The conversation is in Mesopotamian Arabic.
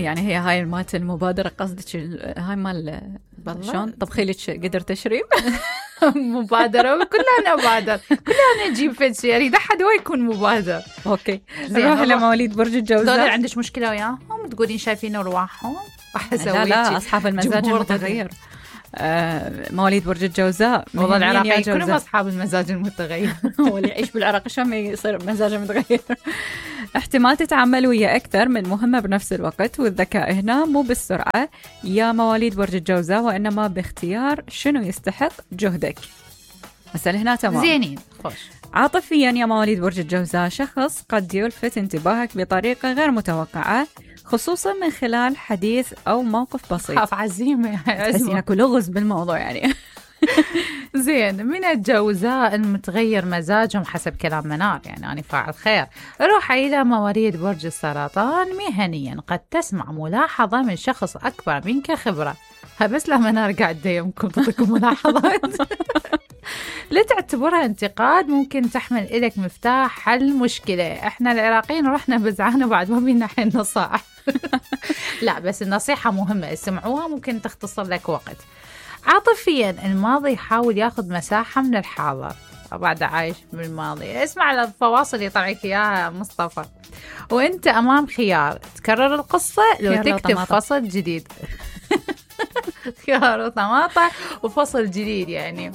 يعني هي هاي مالت المبادرة قصدك هاي مال شلون طبخي لك قدر تشريب؟ مبادرة كلها نبادر، كلها نجيب فد شيء يريد أحد هو يكون مبادر. أوكي نروح لمواليد برج الجوزاء. دول عندك مشكلة وياهم تقولين شايفين أرواحهم؟ لا أصحاب المزاج المتغير. مواليد برج الجوزاء والله العراقيين كلهم أصحاب المزاج المتغير. هو اللي يعيش بالعراق شلون يصير مزاجه متغير. احتمال تتعامل ويا أكثر من مهمة بنفس الوقت، والذكاء هنا مو بالسرعة يا مواليد برج الجوزاء، وإنما باختيار شنو يستحق جهدك. مثلا هنا تمام زينين خوش. عاطفيا يا مواليد برج الجوزاء، شخص قد يلفت انتباهك بطريقة غير متوقعة، خصوصا من خلال حديث أو موقف بسيط. خاف عزيمة تحسين اكو لغز بالموضوع يعني. زين. من الجوزاء المتغير مزاجهم حسب كلام منار، يعني أنا فاعل خير. روح إلى مواليد برج السرطان. مهنيا قد تسمع ملاحظة من شخص أكبر منك خبرة. بس لا منار قاعدة يمكن تعطيكم ملاحظات لا تعتبرها انتقاد، ممكن تحمل إليك مفتاح حل مشكلة. احنا العراقيين رحنا بزعانة بعد ما بينا حين نصائح. لا بس النصيحة مهمة، اسمعوها ممكن تختصر لك وقت. عاطفيا الماضي يحاول ياخذ مساحة من الحاضر، بعد عايش بالماضي. اسمع الفواصل يطلعك إياها مصطفى. وانت أمام خيار، تكرر القصة لو تكتب فصل جديد. خيار وطماطة وفصل جديد يعني.